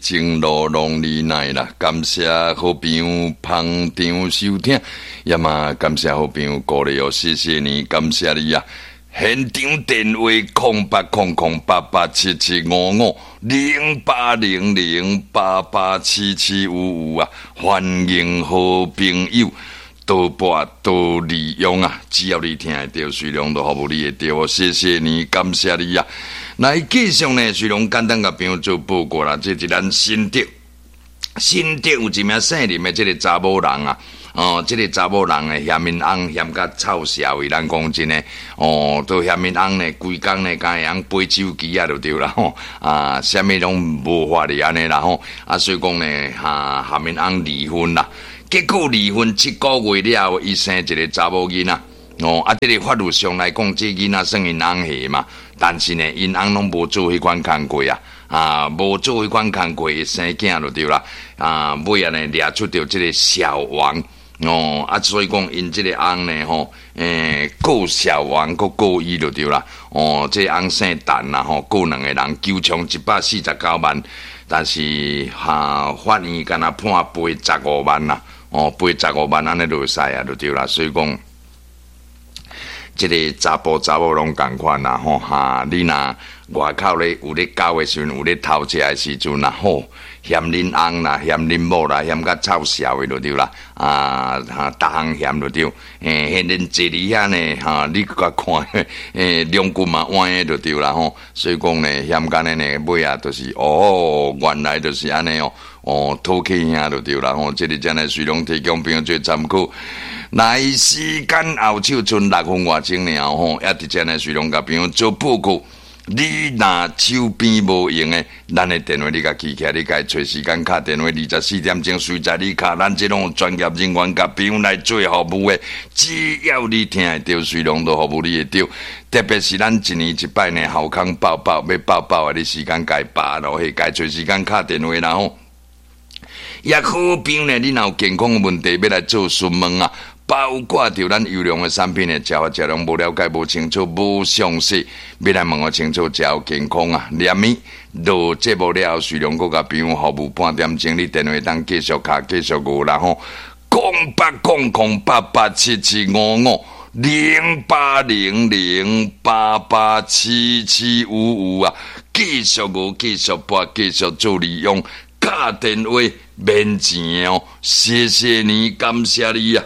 情路攏你奈啦，感謝好朋友捧場收聽，也嘛感謝好朋友鼓勵哦，謝謝你，感謝你啊！現場電話08008877550800887755啊，歡迎好朋友多撥多利用啊！只要你聽會著，隨量都服務你會著哦，謝謝你，感謝你啊！來繼續呢，隨量簡單共朋友做報告啦。這是咱新竹，新竹有一名姓林的這个查某人啊，哦，這个查某人呢，嫌𪜶翁嫌甲臭潲的，咱講真的，哦，都嫌𪜶翁呢，規工呢，敢會曉背手機啊，就對啦吼，啊，啥物攏無法哩按呢啦吼，啊，所以講呢，哈，含𪜶翁離婚啦，結果離婚7個月了後，伊生一个查某囡仔。哦，啊，這个法律上來講，這囡仔算𪜶翁的嘛，但是呢，𪜶翁攏無做彼款工課啊，啊，無做彼款工課，生囝就對啦，啊，尾仔呢，掠出著這个小王，哦，啊，所以講𪜶這个翁呢，吼，告小王，閣告伊就對啦，哦，這个翁姓陳啦，吼，告兩个人，求償149萬，但是哈，法院干焦判賠十五萬啦，哦，賠十五萬按呢就會使啊，就對啦，所以講。這个查埔查某攏仝款啦吼哈！你若外口咧有咧交的時陣，有咧偷食的時陣啦吼，嫌恁翁啦，嫌恁某啦，嫌甲臭潲的就對啦，啊哈，逐項嫌就對。欸，彼陣坐佇遐呢，哈，你閣看，欸，兩骨嘛歪的就對啦吼。所以講呢，嫌甲按呢呢，尾仔就是哦，原來就是按呢哦，哦，討氣兄就對啦吼。這个真的隨量提供朋友做參考。來時間後手賰六分外鐘爾吼，也佇遮呢，隨量共朋友做報告。你若手邊無閒的，咱的電話你共記起來，你共揣時間敲電話，24點鐘隨在你敲，咱這攏有專業人員共朋友來做服務的。只要你聽會著，隨量都服務你會著。特別是咱一年一擺呢，鱟空報報欲報報的，你時間共把落去，共揣時間敲電話啦吼。也好朋友呢，你若有健康的問題欲來做詢問啊。包括著咱優良的產品的食法食量無了解、無清楚、無詳細，欲來問予清楚，食有健康啊！連咪落節目了後，隨量閣共朋友服務半點鐘，你電話通繼續敲、繼續熬啦吼。08008877550800887755啊！繼續熬，繼續撥，繼續做利用，敲電話免錢哦！謝謝你，感謝你啊！